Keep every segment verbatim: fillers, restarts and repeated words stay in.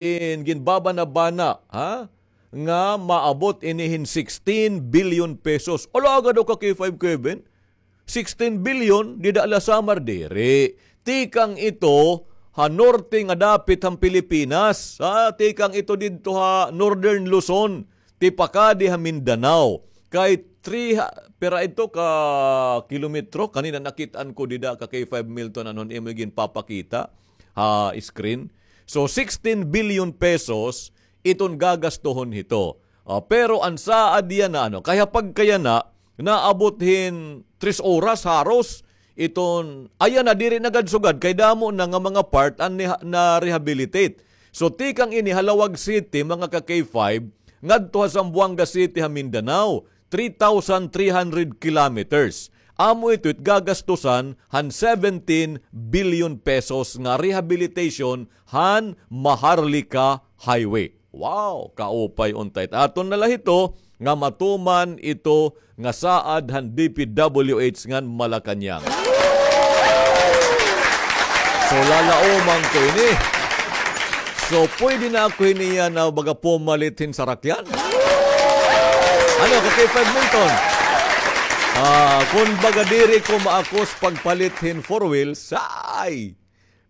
in ginbabanabana, ha? Nga maabot ini hin sixteen billion pesos. Ala, agad daw ka K five Kevin. Sixteen billion, dida la Samar, diri. Tikang ito ha norte nga dapit han Pilipinas. Ha? Tikang ito didto ha Northern Luzon. Tipakadi ha Mindanao. Kay three ha-, pira ito ka kilometro? Kanina nakit-an ko dida ka K five Milton, ano, imo ginpapakita ha screen. So, sixteen billion pesos iton gagastuhon hito. Ah, pero an saad yana, ano, kay ha pagkayana, naabot hin tres oras haros iton, ayan na, diri na gad sugad, kay damo na nga mga part an niha-, na-rehabilitate. So, tikang ini ha Laoag City, mga ka K five, ngadto ha Zamboanga City ha Mindanao, three thousand three hundred kilometers. Amo ito it gagastusan han seventeen billion pesos nga rehabilitation han Maharlika Highway. Wow, kaupay unta it aton na la hito nga matuman ito nga saad han D P W H ngan Malacañang. So, lalauman ko ini. So, pwede na ako hiniya na baga pumalit hin sarakyan? Ano, ka K five Milton? Ah, kun baga diri ko maakos pagpalit hin four wheels, ay!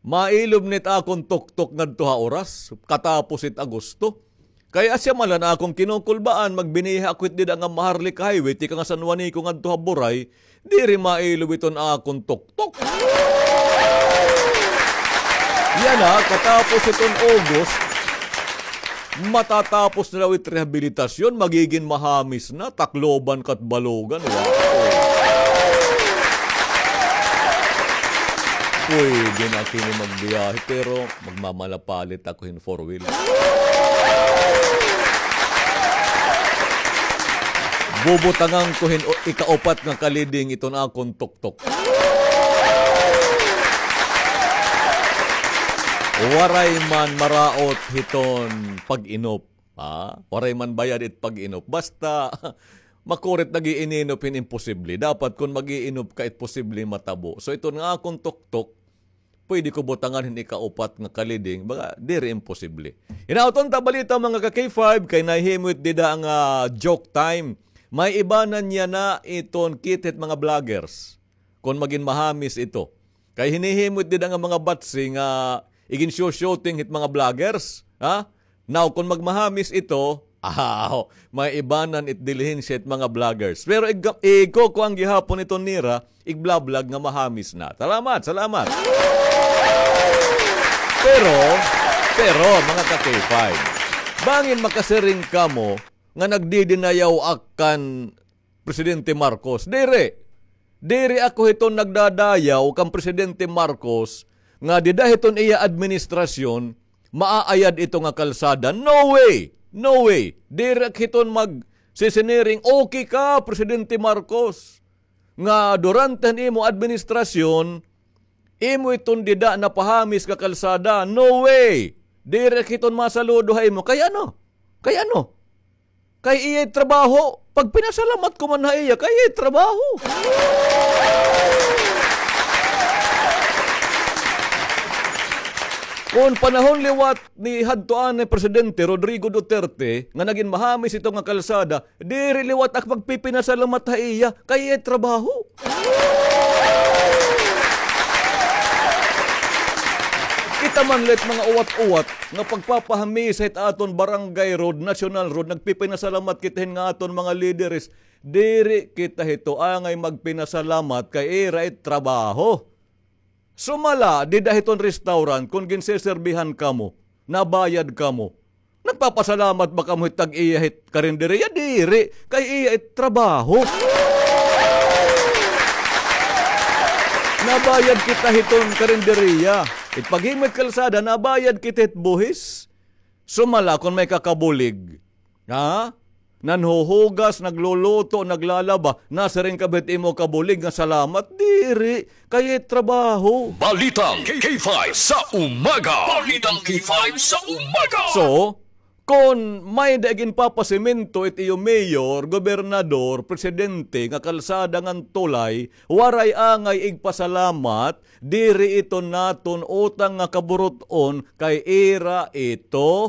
Mailob nit akon tuktok ngadto ha oras, katapos it Agosto. Kay asya man la an akon kinukulbaan, magbiniha ako hit dida nga Maharlika Highway, tikang ha San Juanico ngadto ha Buray, diri mailob iton akon tuktok. Yana, katapos iton August, matatapos na daw it rehabilitasyon, magigin mahamis na, Tacloban, Catbalogan. Wow! Pwede na kini magbiyahe, pero magmamalapalit ako hin four wheel. Bubutangan ko hin o-, ikaupat nga kaliding iton akon tuktok. Waray man maraot hiton pag-inop. Ha? Waray man bayad it pag-inop. Basta, makurit nag-iininop hin imposible. Dapat kun mag-iinop ka, it posible matabo. So, iton nga akon tuktok, pwede ko butangan hin ikaupat nga kaliding, baga, diri imposible. Hinaot unta balita, mga ka K five, kay nahimo it dida nga joke time. May iba na niya na iton kit hit mga vloggers. Kon magin mahamis ito. Kay hinihimo it dida nga mga batsi nga igin-shooting hit mga vloggers, ha? Now, kon magmahamis ito, aw, may ibanan it dilihensya hit mga vloggers. Pero ig-, ikukuan gihapon ito nira, igbablag nga mahamis na. Salamat, salamat. Pero, pero, mga ka K five, bangin makasiring kamo nga nagdidinayaw ak kan Presidente Marcos. Diri. Diri ako hiton nagdadayaw kan Presidente Marcos nga dida hiton iya administrasyon, maaayad ito nga kalsada. No way! No way! Diri ak hiton magsisiniring, okay ka, Presidente Marcos, nga durante han imo administrasyon, imo iton dida napahamis nga kalsada. No way! Diri ak hiton masaludo ha imo. Kay ano? Kay ano? Kay iya it trabaho. Pagpinasalamat ko man ha iya, kay iya it trabaho. Kon panahon liwat ni hadto anay Presidente Rodrigo Duterte nga nagin mahamis ito nga kalsada, diri liwat ak pagpipinasalamat ha iya, kay iya it trabaho. Kita man la it mga uwat-uwat nga pagpapahamis hit aton barangay road, national road, nagpipinasalamat kita hin nga aton mga lideres. Diri kita hito angay magpinasalamat kay ira it trabaho. Sumala, dida hiton restaurant, kon ginseserbihan kamo, nabayad kamo. Nagpapasalamat ba kamo hit tag-iya hit karinderiya? Diri, kay iya it trabaho. Nabayad kita hiton karinderiya. It paghimo hit kalsada, nabayad kita hit buhis. Sumala, kon may kakabulig, ha? Nanhuhugas, nagluluto, naglalaba, nasiring ka ba hit imo kabulig nga salamat? Diri, kay iya it trabaho. Balitang K five sa umaga. Balitang K five sa umaga. So, Kon may-ada ginpapasemento it iyo mayor, gobernador, presidente nga kalsada ngan tulay, waray angay igpasalamat, diri ito naton utang nga kaburut-on kay ira ito